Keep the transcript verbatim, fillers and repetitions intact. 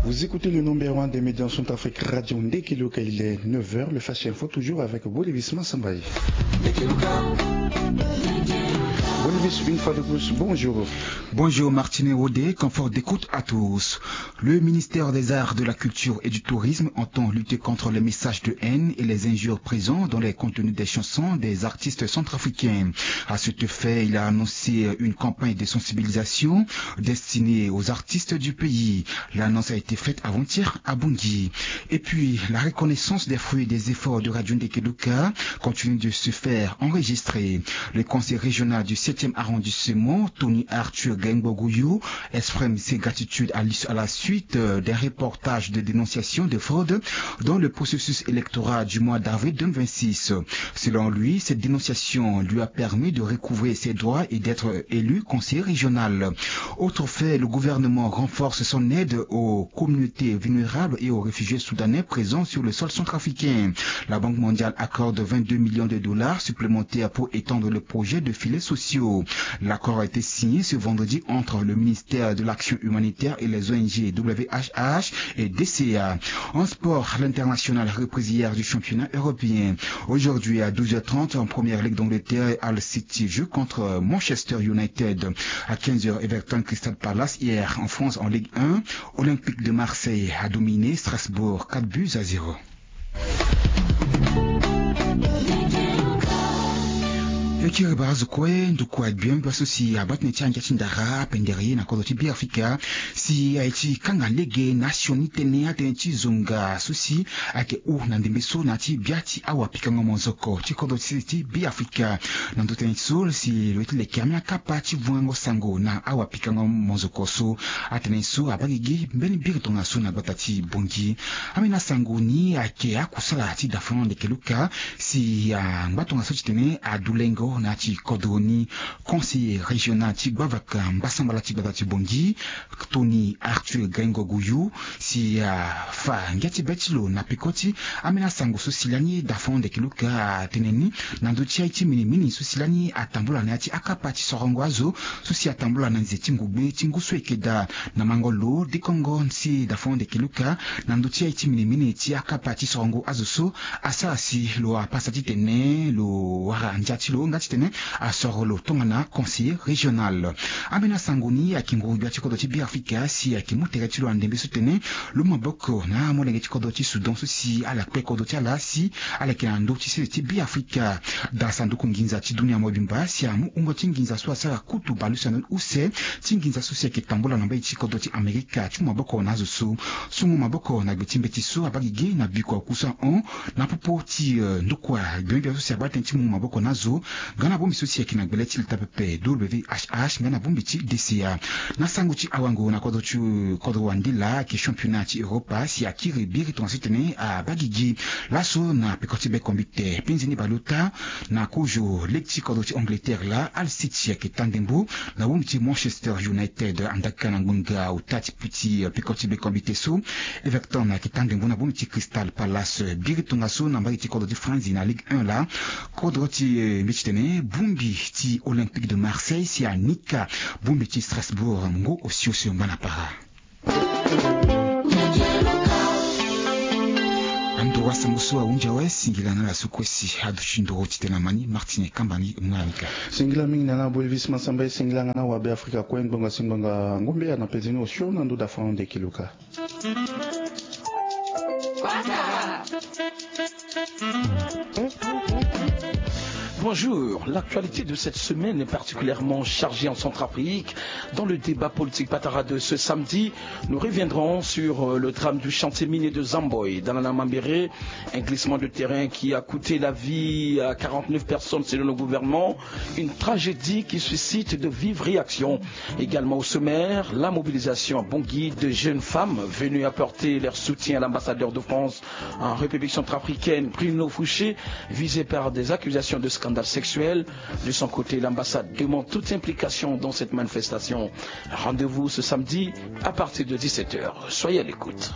Vous écoutez le numéro un des médias en Centrafrique, Radio Ndekeluka. Il est neuf heures, le Flash Info, toujours avec Bolivis Massambaye. Bolivis, une fois de plus, bonjour. Bonjour Martine Rodé, confort d'écoute à tous. Le ministère des Arts, de la Culture et du Tourisme entend lutter contre les messages de haine et les injures présents dans les contenus des chansons des artistes centrafricains. À cet effet, il a annoncé une campagne de sensibilisation destinée aux artistes du pays. L'annonce a été faite avant-hier à Bangui. Et puis, la reconnaissance des fruits des efforts de Radio Ndekeluka continue de se faire enregistrer. Le conseil régional du septième arrondissement, Tony Arthur Gengbogoyou, exprime ses gratitudes à l'is-, à la suite, euh, d'un reportage de dénonciation de fraude dans le processus électoral du mois d'avril deux mille vingt-six. Selon lui, cette dénonciation lui a permis de recouvrer ses droits et d'être élu conseiller régional. Autre fait, le gouvernement renforce son aide aux communautés vulnérables et aux réfugiés soudanais présents sur le sol centrafricain. La Banque mondiale accorde vingt-deux millions de dollars supplémentaires pour étendre le projet de filets sociaux. L'accord a été signé ce vendredi entre le ministère de l'Action humanitaire et les O N G W H H et D C A. En sport, l'international reprise hier du championnat européen. Aujourd'hui, à douze heures trente, en première ligue d'Angleterre, Hull City joue contre Manchester United. À quinze heures, Everton Crystal Palace. Hier, en France, en Ligue un, Olympique de Marseille a dominé Strasbourg, quatre buts à zéro. E kiri barazo kue ndukua gbia mbi aso si abaa tënë ti angia ti ndara apendere ye na kodro ti Beafrika si aye ti kanga lege na sioni tënë atënë ti zonga so si ayeke hou na ndembe so na ya ti bia ti awapikango mozoko ti kodro ti sese ti Beafrika. Na ndö tënë ti so si lo ye ti leke ambeni akapa ti vungango sango na awapikango mozoko so. Atënë so abaa gigi mbeni biri tongaso na gbata ti Bangui. Ambeni asango ni ayeke akusala ti Dafon Ndekeluka si angba tongaso ti tene adulengo na ya ti kodro ni. Conseiller régional ti gbavaka mbasambala ti gbata ti Bangui, Tony Arthur Gaingo Gouyou, si afa ngia ti be ti lo na peko ti ambeni asango so si lani Dafon Ndekeluka atene ni na ndö ti aye ti minimini so si lani atambula na ya ti akapa ti sorongo azo so si atambula na nze ti ngogbe ti ngu so eke daa. Na mango lo dikongo si Dafon Ndekeluka na ndö ti aye ti minimini ti akapa ti sorongo azo so asara si lo apasa titene lo wara ndia ti lo nga titene asoro lo tongana conseiller régional. Ambeni asango ni ayeke nguru-gbia ti kodro ti Beafrika si ayeke mu tere ti lo na ndembe so tene lo mu maboko na amolenge ti kodro ti Soudan so si ala kpe kodro ti ala si ala yeke na ndö ti sese ti Beafrika. Daa sanduku nginza ti dunia mobimba si amu hungo ti nginza so asara kutu bale use na ndö ni use ti nginza so si ayeke tambula na mbage ti kodro ti Amerika ti mu maboko na azo so. Sungo maboko na gbe ti mbeti so abaa gigi na bikua oku so ahon na popo ti, eh, ndokua gbia so si abaa tënë ti mu maboko na azo nga na bongbi so si ayeke na gbele ti leta pepe W H H nga na bongbi ti D C A. Na sango ti awango na kodro ti kodro wandila ayeke championnat ti Europa si akiri biri tongaso titene abaa gigi laso na peko ti be kombite. Penze ni baleota na kozo lege ti kodro ti Angleterre laa Hull City ayeke taa ndembo na bongbi ti Manchester United. Andaka na ngbonga ota ti peko ti be kombite so Everton ayeke taa ndembo na bongbi ti Crystal Palace. Biri tongaso na mbage ti kodro ti Franzi na Ligue un laa kodro ti, eh, mbi ti tene bongbi ti Olympique de Marseille si anika bongbi ti Strasbourg ngu osio osio ngbana para. Ando wasango so ahunzi awe, singila na ala so kue si aduti nduru titene amani. Martine Kambani, mu na ala ni ka. Singila mingi na ala bo Elvis Mansamba, e singila nga na awabe Afrika kue ngbonga si ngbonga ngombe ana penze ni osio na ndo Dafon Ndekeluka. Bonjour, l'actualité de cette semaine est particulièrement chargée en Centrafrique. Dans le débat politique Patara de ce samedi, nous reviendrons sur, euh, le drame du chantier minier de Zamboy dans la Namambéré, un glissement de terrain qui a coûté la vie à quarante-neuf personnes selon le gouvernement, une tragédie qui suscite de vives réactions. Également au sommaire, la mobilisation à Bangui de jeunes femmes venues apporter leur soutien à l'ambassadeur de France en République centrafricaine, Bruno Fouché, visé par des accusations de scandale sexuel. De son côté, l'ambassade demande toute implication dans cette manifestation. Rendez-vous ce samedi à partir de dix-sept heures. Soyez à l'écoute.